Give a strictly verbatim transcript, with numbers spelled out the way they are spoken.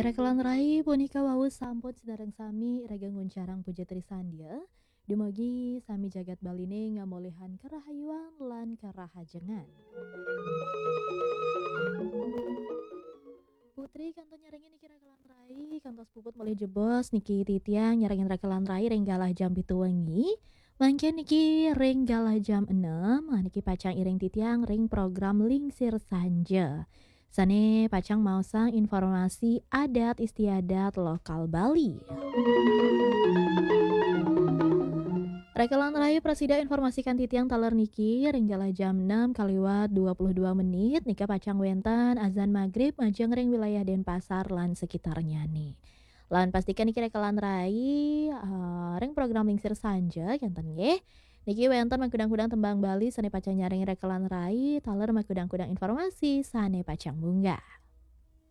Rekelan rai, punika wau sampun sinareng sami iraga nguncarang puja trisandya. Dumugi sami jagat Baline ngamolihang karahayuan lan karahajengan. Putri kantun nyarengin niki rekelan rai, kantos puput malih jebos niki titiang nyarengin rekelan rai ring galah jam pitu wengi. Mangkin niki ring galah jam enam, ah, niki pacang iring titiang ring program Lingsir Sanja. Sane pacang maosang informasi adat istiadat lokal Bali. Rekelan rai, prasida informasikan titiang taler niki ring galah jam enam kaliwat dua puluh dua menit, nika pacang wenten azan magrib majeng ring wilayah Denpasar lan sekitarnyane. Lan pastikan niki rekelan rai, eh, ring program Lingsir Sanja, kenten nggih. Niki wenten makudang-kudang tembang Bali sane pacang nyarengin rekelan rai, taler makudang-kudang informasi sane pacang munggah.